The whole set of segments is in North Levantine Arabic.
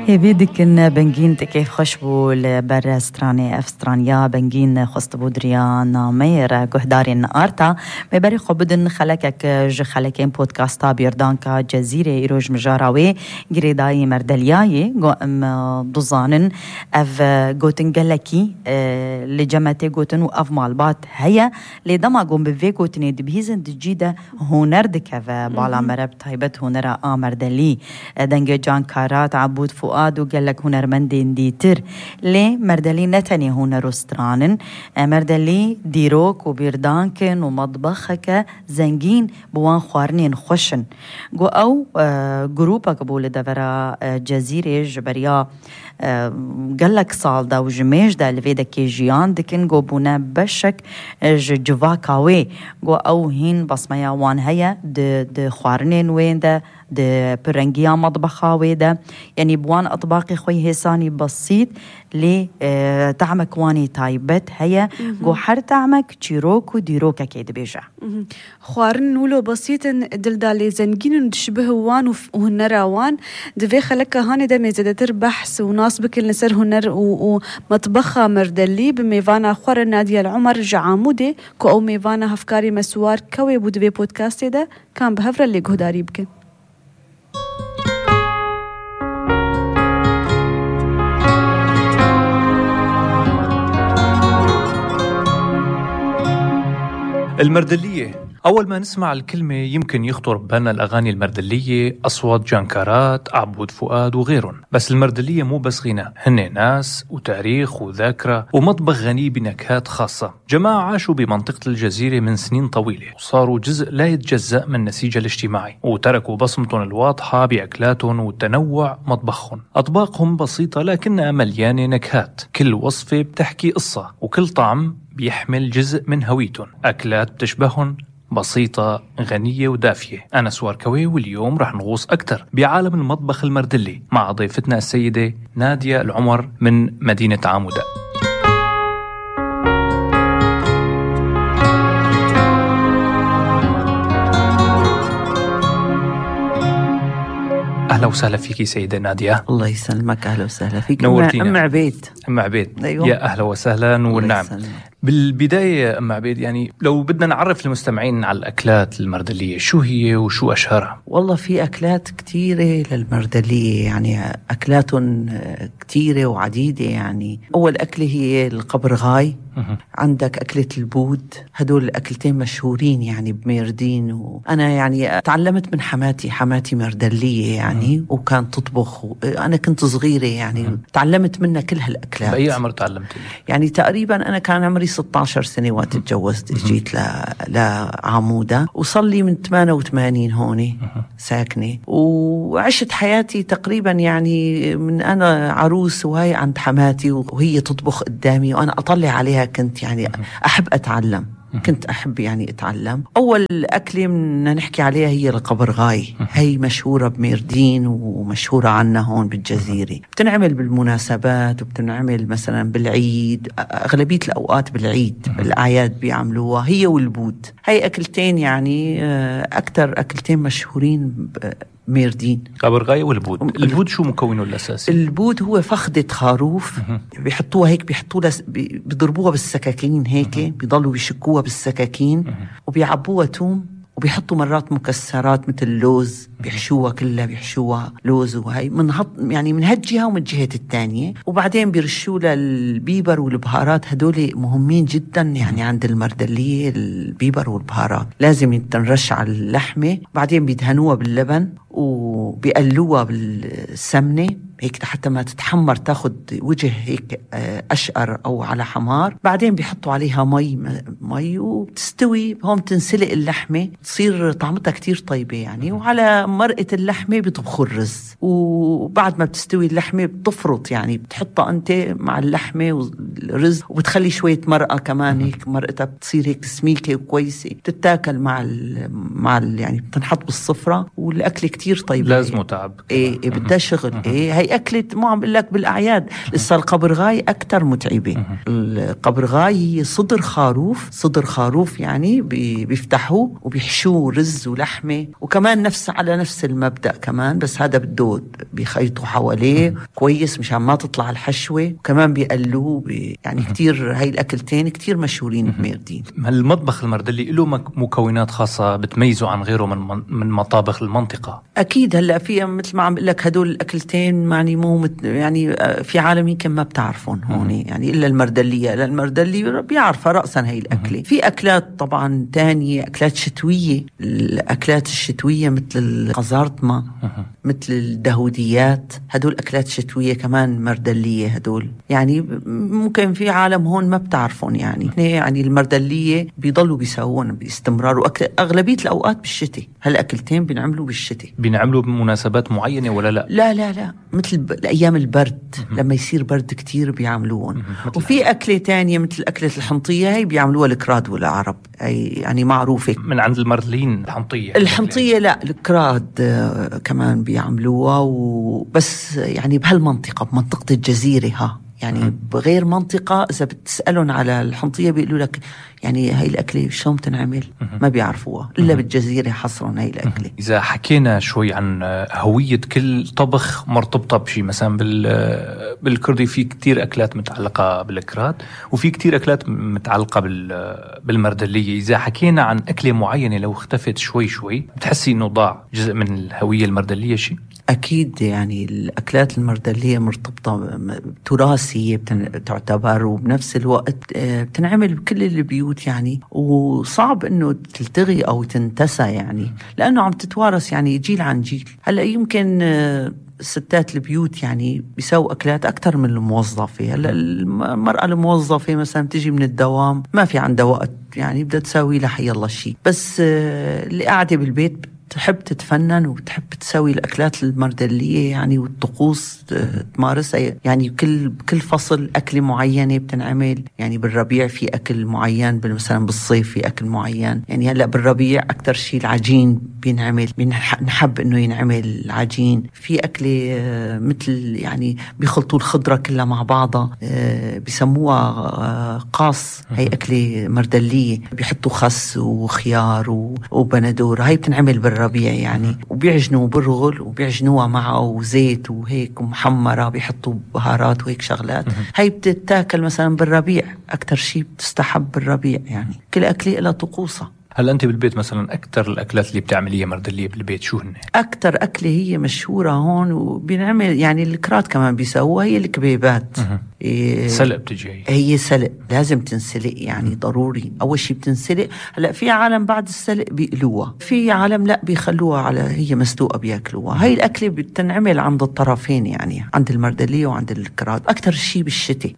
بيدكن بنجين كيف خشبو لبرا ستراني أفسترانيا بنجين خست بودريان مير قهداري النقارتا ببري خبدن خلقك خلقين بودكاستا بيردانكا جزيرة إيروج مجاراوي قريداي مردلياي قوام دوزانن أف قوتن قلقي لجمتي قوتن وأف مالبات هيا لدما قوم بفي قوتني دبهيزن دجيدة هونر دكفا بالا مرب طيبت هونر مردلي دنجي جان كارات عبود فؤاد وقال لك هنرمندين ديتر ليه مردلي نتني هنر استرانن مردلي ديروك وبيردانكن ومطبخك زنجين بوان خوارنين خوشن جو أو جروبك بول دفرا جزيرة جبريا قال لك صالدا وجميج دا لفيدا كيجيان دكن جو بونا بشك جواكاوي جو أو هين بصميا وان هيا د خوارنين وين دا د برنجيا مطبخا ويدا يعني بوان أطباقي خوي هساني بسيط لي تعمك واني تايبت هيا جو حر تعمك تشيروك وديروكا كيد بيجا خوارن ولو بسيط دلدالي زنجين تشبه وان وهنرا وان دفي خلك هاني دا ميزدتر بحث وناسبك النسر هنر ومطبخا مردلي بميفانا خوار نادية العمر جعامودي كو أو ميفانا هفكاري مسوار كوي بودفي بودكاست دا كان بهفر اللي قهداري بك المردلية. أول ما نسمع الكلمة يمكن يخطر ببالنا الأغاني المردلية، أصوات جانكارات، عبود فؤاد وغيرهم. بس المردلية مو بس غناء، هن ناس وتاريخ وذاكرة ومطبخ غني بنكهات خاصة. جماعة عاشوا بمنطقة الجزيرة من سنين طويلة وصاروا جزء لا يتجزأ من نسيجها الاجتماعي، وتركوا بصمتهم الواضحة بأكلاتهم وتنوع مطبخهم. أطباقهم بسيطة لكنها مليانة نكهات، كل وصفة بتحكي قصة وكل طعم بيحمل جزء من هويتهم. أكلات بتشبههم، بسيطة غنية ودافية. أنا سوار كوي، واليوم رح نغوص أكتر بعالم المطبخ المردلي مع ضيفتنا السيدة نادية العمر من مدينة عامودة. أهلا وسهلا فيكي سيدة نادية. الله يسلمك. أهلا وسهلا فيك. نورتينا. أم عبيد. أم عبيد. أيوة. يا أهلا وسهلا. والنعم. بالبداية أم عبيد، يعني لو بدنا نعرف المستمعين على الأكلات المردلية، شو هي وشو أشهرها؟ والله في أكلات كتيرة للمردلية، يعني أكلات كتيرة وعديدة. يعني أول أكلة هي القبرغاي، عندك أكلة البود، هدول الأكلتين مشهورين يعني بميردين. وأنا يعني تعلمت من حماتي مردلية يعني، وكان تطبخ أنا كنت صغيرة يعني تعلمت منها كل هالأكلات. بأي عمر تعلمتي؟ يعني تقريبا أنا كان عمري 16 سنة وقت اتجوزت، جيت لعامودة، وصلي من 88 هون ساكنة، وعشت حياتي تقريبا يعني من أنا عروس وهي عند حماتي وهي تطبخ قدامي وأنا أطلع عليها. كنت يعني أحب أتعلم، كنت أحب يعني أتعلم. أول أكلة بدنا نحكي عليها هي القبرغاي، هي مشهورة بميردين ومشهورة عنا هون بالجزيرة. بتنعمل بالمناسبات وبتنعمل مثلا بالعيد، أغلبية الأوقات بالعيد بالأعياد بيعملوها هي والبود. هي أكلتين يعني أكتر أكلتين مشهورين ميردين، قبرغاي والبود. البود شو مكونه الأساسي؟ البود هو فخدة خروف بيحطوها هيك، بيضربوها بالسكاكين هيك، بيضلوا بيشكوها بالسكاكين وبيعبوها توم وبيحطوا مرات مكسرات مثل اللوز، بيحشوها كلها، بيحشوها لوز وهي يعني من هالجهة ومن الجهة الثانية، وبعدين بيرشوا لها البيبر والبهارات. هدول مهمين جدا يعني عند المردلية، البيبر والبهارات لازم تنرش على اللحمة، بعدين بيدهنوها باللبن وبيقلوها بالسمنة هيك حتى ما تتحمر، تاخد وجه هيك أشقر أو على حمار. بعدين بيحطوا عليها مي وبتستوي هون، تنسلق اللحمة، تصير طعمتها كتير طيبة يعني. وعلى مرقة اللحمة بيطبخوا الرز، وبعد ما بتستوي اللحمة بتفرط يعني، بتحطها أنت مع اللحمة والرز، وبتخلي شوية مرقة كمان هيك، مرقتها بتصير هيك سميكة وكويسة، بتتاكل مع يعني بتنحط بالصفرة، والأكل كتير طيب. لازم تعب. بدها شغل. هي هي أكلة مو عم بقول لك بالأعياد. لسه القبرغاي أكتر متعبة. القبرغاي هي صدر خروف يعني بيفتحوه وبيحشوه رز ولحمة، وكمان على نفس المبدأ كمان، بس هذا بده بيخيطوا حواليه كويس مشان ما تطلع الحشوة، وكمان بيقلوه يعني كتير. هاي الأكلتين كتير مشهورين بميردين. المطبخ المردلي له مكونات خاصة بتميزه عن غيره من مطابخ المنطقة؟ أكيد. هلأ في مثل ما عم بقول لك هدول الأكلتين يعني مو يعني في عالم يمكن ما بتعرفون هون يعني إلا المردلية. المردلي بيعرفها رأسا هاي الأكلة. في أكلات طبعا تانية، أكلات شتوية. الأكلات الشتوية مثل القزارطمة، مثل الدهوديات، هدول أكلات شتوية كمان مردلية. هدول يعني ممكن في عالم هون ما بتعرفون يعني المردلية بيضلوا بيسوون باستمرار، وأغلبية الأوقات بالشتاء. هالأكلتين بنعملوا بالشتاء. بنعملوا بمناسبات معينة ولا لا؟ لا مثل أيام البرد لما يصير برد كتير بيعملوون. وفي أكلة تانية مثل أكلة الحنطية، هي بيعملوها الكراد والعرب، يعني معروفة من عند المردليين. الحنطية لا، الكراد كمان بيعملوها، وبس يعني بهالمنطقة، بمنطقة الجزيرة يعني بغير منطقة إذا بتسألون على الحنطية بيقولوا لك يعني هاي الأكلة شلون تنعمل ما بيعرفوها إلا بالجزيرة حصرا هاي الأكلة. إذا حكينا شوي عن هوية كل طبخ مرتبطة بشي، مثلا بالكردي في كتير أكلات متعلقة بالكراد، وفي كتير أكلات متعلقة بالمردلية. إذا حكينا عن أكلة معينة لو اختفت شوي بتحسي إنه ضاع جزء من الهوية المردلية شي؟ أكيد. يعني الأكلات المردلية مرتبطة تراثية تعتبر، وبنفس الوقت بتنعمل بكل البيوت يعني، وصعب إنه تلتغي أو تنتسى يعني، لأنه عم تتوارث يعني جيل عن جيل. هلأ يمكن ستات البيوت يعني بيساووا أكلات أكتر من الموظفة. هلأ المرأة الموظفة مثلا تجي من الدوام ما في عندها وقت يعني، بدها تساوي لها حي الله شيء، بس اللي قاعدة بالبيت تحب تتفنن وتحب تسوي الأكلات المردلية يعني، والطقوس تمارسها يعني. كل فصل أكل معينة بتنعمل يعني. بالربيع في أكل معين، مثلا بالصيف في أكل معين يعني. هلأ بالربيع أكتر شيء العجين بينعمل، نحب إنه ينعمل العجين. في أكلة مثل يعني بيخلطوا الخضرة كلها مع بعضها، بيسموها قاص. هاي أكلة مردلية، بيحطوا خس وخيار وبندور. هاي بتنعمل بالربيع يعني، وبيعجنوا برغل وبيعجنوها معه وزيت وهيك ومحمرة، بيحطوا بهارات وهيك شغلات. هاي بتتاكل مثلا بالربيع، أكتر شيء بتستحب بالربيع يعني. كل أكلة لها طقوسها. هل أنت بالبيت مثلا أكتر الأكلات اللي بتعمليها مردلية بالبيت شو هن؟ أكتر أكلة هي مشهورة هون وبنعمل يعني الكرات كمان بيسووها، هي الكبيبات. سلق بتجي هي سلق، لازم تنسلق يعني ضروري. أول شيء بتنسلق. هلأ في عالم بعد السلق بيقلوها، في عالم لا بيخلوها على هي مسلوقة بياكلوها. هاي الأكلة بتنعمل عند الطرفين يعني، عند المردلية وعند الكرات. أكتر شيء بالشتاء.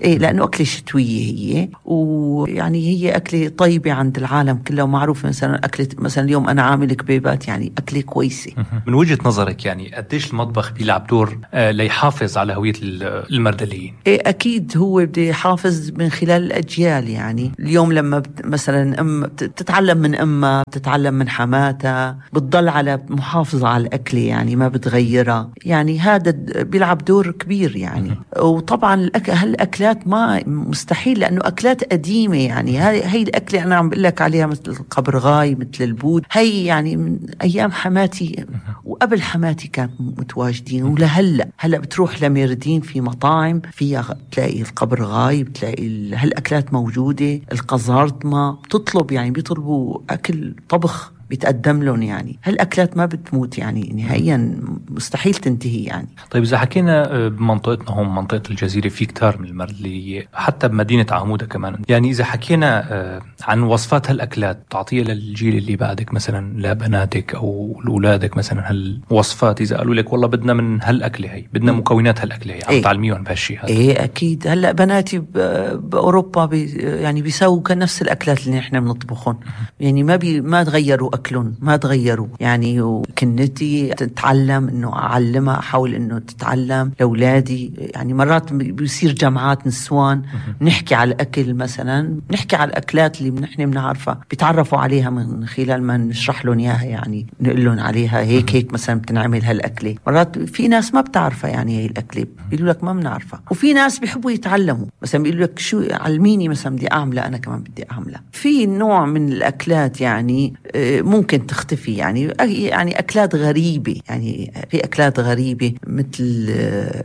لأنه أكلة شتوية هي، ويعني هي أكلة طيبة عند العالم كله، ومعروف مثلا أكلة مثلا اليوم أنا عامل كبيبات يعني أكلة كويسة. من وجهة نظرك يعني قديش المطبخ بيلعب دور ليحافظ على هوية المردليين؟ أكيد هو بده يحافظ من خلال الأجيال يعني. اليوم لما مثلا أم بتتعلم من أمها، بتتعلم من حماتها، بتضل على محافظة على الأكلة يعني، ما بتغيرها يعني. هذا بيلعب دور كبير يعني. وطبعا هالأكلات ما مستحيل، لأنه أكلات قديمة يعني. هاي الأكلة أنا عم بقول لك عليها مثل القبرغاي، مثل البود، هي يعني من أيام حماتي وقبل حماتي كانت متواجدين، هلأ بتروح لميردين في مطاعم فيها بتلاقي القبرغاي، بتلاقي هالأكلات موجودة. القزارطمة بتطلب يعني، بيطلبوا أكل طبخ بيتقدم لهم يعني. هالأكلات ما بتموت يعني نهائيا، مستحيل تنتهي يعني. طيب إذا حكينا بمنطقتنا هون منطقة الجزيرة في كتار من المردلية، حتى بمدينة عمودة كمان يعني. إذا حكينا عن وصفات هالأكلات تعطيها للجيل اللي بعدك مثلا، لبناتك أو لأولادك مثلا، هالوصفات إذا قالوا لك والله بدنا من هالأكلة هي، بدنا مكونات هالأكلة هي، عم تعلميهم بهالشي هذا؟ أكيد. هلأ بناتي بأوروبا يعني بيسووا نفس الأكلات اللي نحن بنطبخهم يعني، ما تغيروا أكلهم ما تغيروا يعني. وكنتي تتعلم إنه أعلمها، أحاول إنه تتعلم لأولادي. يعني مرات بيصير جامعات نسوان نحكي على الأكل مثلا، نحكي على الأكلات اللي نحن بنعرفها، بيتعرفوا عليها من خلال ما نشرح لهم إياها. يعني نقول لهم عليها هيك مثلا بتنعمل هالأكلة. مرات في ناس ما بتعرفها يعني هي الأكلة، بيقولوا لك ما بنعرفها. وفي ناس بيحبوا يتعلموا، مثلا بيقولوا لك شو علميني مثلا بدي أعملها، أنا كمان بدي أعملها. في نوع من الأكلات يعني ممكن تختفي يعني أكلات غريبة. يعني في أكلات غريبة مثل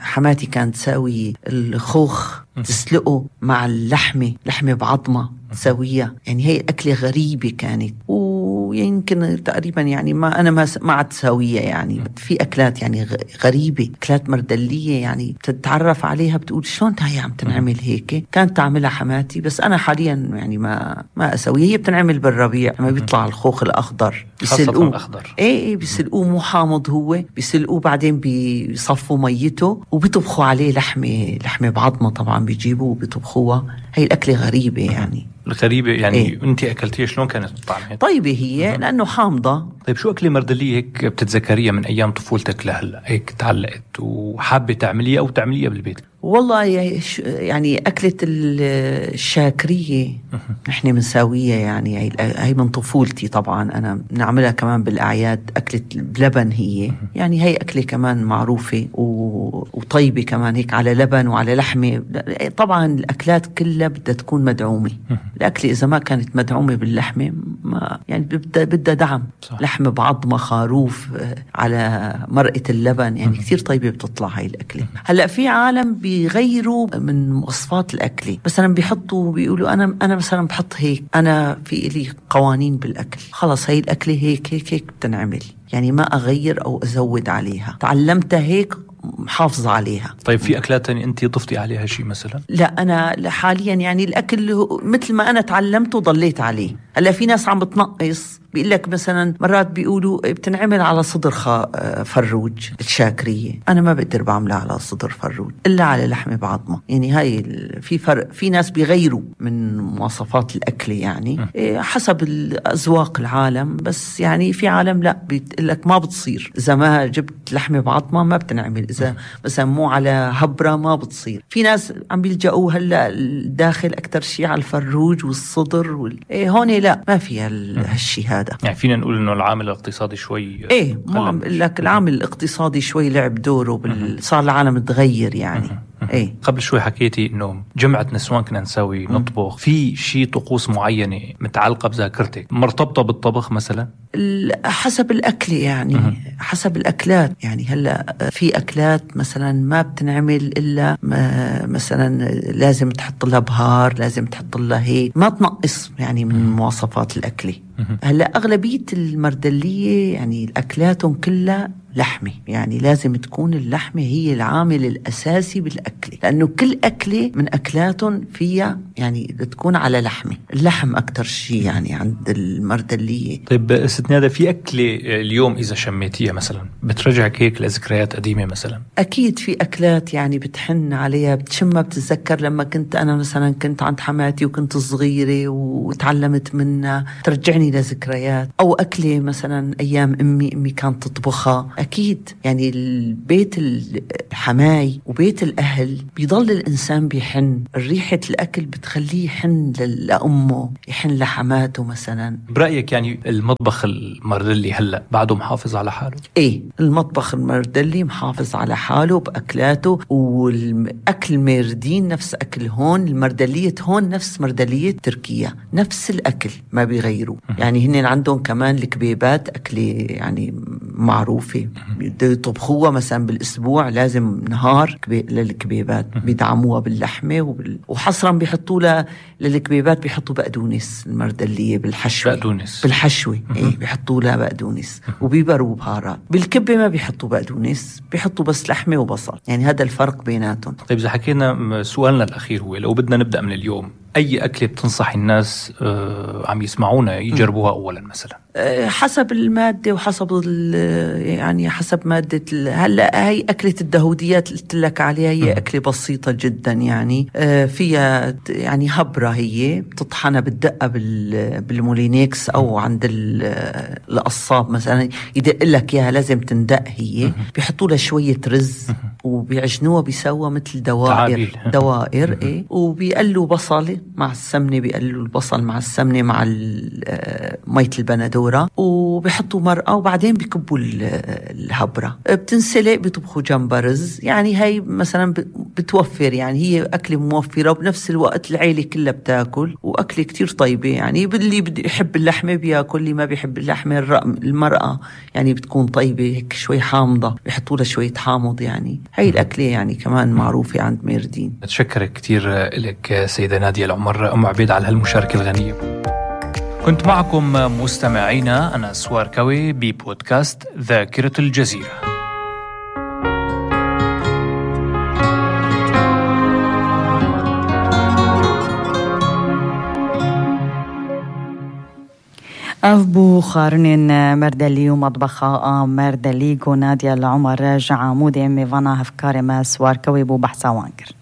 حماتي كانت تساوي الخوخ تسلقه مع اللحمة بعظمة تسويها. يعني هي أكلة غريبة كانت، ويمكن تقريبا يعني ما عاد تساويها. يعني في أكلات يعني غريبة، أكلات مردلية يعني بتتعرف عليها بتقول شلون هي عم تنعمل هيك. كانت تعملها حماتي، بس أنا حاليا يعني ما أسويها. هي بتنعمل بالربيع لما بيطلع الخوخ الأخضر، بيسلقوه. إيه بيسلقوه مو حامض، هو بيسلقوه بعدين بيصفوا ميته وبيطبخوا عليه لحمة بعظمة. طبعا بيجيبوا وبيطبخوها. هي الأكلة غريبة يعني. الغريبة يعني إيه؟ أنت أكلتيها شلون كانت طعمها؟ طيبة هي لأنه حامضة. طيب شو أكلة مردلية هيك بتتذكريها من أيام طفولتك لهلا هيك تعلقت وحابة تعمليها أو تعمليها بالبيت؟ والله يعني أكلة الشاكرية نحن بنساويها. يعني هي من طفولتي طبعا، أنا بنعملها كمان بالأعياد. أكلة بلبن هي يعني هي أكلة كمان معروفة وطيبة كمان، هيك على لبن وعلى لحمة. طبعا الأكلات كلها بدها تكون مدعومة. الأكلة إذا ما كانت مدعومة باللحمة ما يعني بدها دعم. صح. لحمة بعظمة، خروف على مرقة اللبن، يعني كتير طيبة بتطلع هاي الأكلة. هلأ في عالم بيغيروا من وصفات الأكل، مثلا بيحطوا بيقولوا أنا مثلا بحط هيك، أنا في إلي قوانين بالأكل، خلص هاي الأكلة هيك بتنعمل، يعني ما أغير أو أزود عليها. تعلمتها هيك محافظة عليها. طيب في أكلات تانية أنت ضفتي عليها شيء مثلا؟ لا أنا حاليا يعني الأكل مثل ما أنا تعلمته ضليت عليه. هلا في ناس عم بتنقص، بيقول لك مثلا مرات بيقولوا بتنعمل على صدر فروج الشاكرية. أنا ما بقدر بعملها على صدر فروج إلا على لحمة بعظمة. يعني هاي في فرق. في ناس بيغيروا من مواصفات الأكل يعني حسب الأذواق العالم، بس يعني في عالم لا بيقول لك ما بتصير إذا ما جبت لحمة بعظمة، ما بتنعمل إذا مثلا مو على هبرة ما بتصير. في ناس عم بيلجأوا هلا الداخل أكتر شيء على الفروج والصدر هون لا ما فيها هالشي هذا. يعني فينا نقول إنه العامل الاقتصادي شوي ما عم بقول لك العامل الاقتصادي شوي لعب دوره صار العالم تغير يعني. قبل شوي حكيتي إنه جمعة نسوان كنا نسوي نطبخ في شيء طقوس معينة متعلقة بذاكرتك مرتبطة بالطبخ مثلا؟ حسب الأكل يعني حسب الأكلات. يعني هلأ في أكلات مثلا ما بتنعمل إلا مثلا لازم تحط لها بهار، لازم تحط لها هيك، ما تنقص يعني من مواصفات الأكل. هلأ أغلبية المردلية يعني الأكلاتهم كلها لحمة، يعني لازم تكون اللحمة هي العامل الأساسي بالأكل، لأنه كل أكلة من أكلاتهم فيها يعني تكون على لحمة. اللحم أكتر شيء يعني عند المردلية. طيب ست نادى، في أكلة اليوم إذا شميتيها مثلا بترجعك هيك لذكريات قديمة مثلا؟ أكيد في أكلات يعني بتحن عليها، بتشمها، بتتذكر لما كنت أنا مثلا كنت عند حماتي وكنت صغيرة وتعلمت منها، ترجعني لذكريات. أو أكلة مثلا أيام أمي كانت تطبخها. أكيد يعني البيت الحماي وبيت الأهل بيضل الإنسان بيحن، ريحة الأكل بتخليه يحن لأمه، يحن لحماته مثلا. برأيك يعني المطبخ المردلي هلأ بعده محافظ على حاله؟ المطبخ المردلي محافظ على حاله بأكلاته، والأكل مردين نفس أكل هون. المردلية هون نفس مردلية تركيا، نفس الأكل ما بيغيروا. يعني هن عندهم كمان الكبيبات أكلة يعني معروفة، يطبخوها مثلا بالأسبوع لازم نهار للكبيبات، بيدعموها باللحمة وحصرا بيحطوا لها للكبيبات بيحطوا بقدونس. المردلية بالحشوة بالحشوة بيحطوا لها بقدونس وبيبروا بهارات. بالكبة ما بيحطوا بقدونس، بيحطوا بس لحمة وبصل. يعني هذا الفرق بيناتهم. طيب إذا حكينا سؤالنا الأخير هو لو بدنا نبدأ من اليوم، أي أكلة بتنصح الناس عم يسمعونا يجربوها أولا مثلا؟ حسب المادة وحسب يعني حسب مادة هلا هي أكلة الدهوديات اللي قلت لك عليها هي أكلة بسيطة جدا يعني فيها يعني هبرة، هي بتطحنها بالدقة بالمولينيكس أو عند القصاب مثلا يدق لك إياها، لازم تندق هي، بيحطوا لها شوية رز وبيعجنوها بيسوى مثل دوائر إيه، وبيقلوا بصل مع السمنة، بيقلوا البصل مع السمنة مع مية البندورة، وبيحطوا مرقة وبعدين بيكبوا الهبرة، بتنسلق، بيطبخوا جنبها رز. يعني هاي مثلا بتوفر، يعني هي أكلة موفرة وبنفس الوقت العيلة كلها بتاكل، وأكلة كتير طيبة. يعني اللي بيحب اللحمة بياكل، اللي ما بيحب اللحمة المرقة يعني بتكون طيبة هيك شوي حامضة، بيحطوا لها شوية حامض. يعني هاي الأكلة يعني كمان معروفة عند ميردين. أتشكرك كتير لك سيدة نادية العمر أم عبيد على هالمشاركة الغنية. كنت معكم مستمعينا أنا سوار كوي ببودكاست ذاكرة الجزيرة. أفبو خارنين مردلي ومطبخة مردلي نادية العمر راجع عمودي ميفانا هفكاري ما سوار كوي بو بحثا وانكر.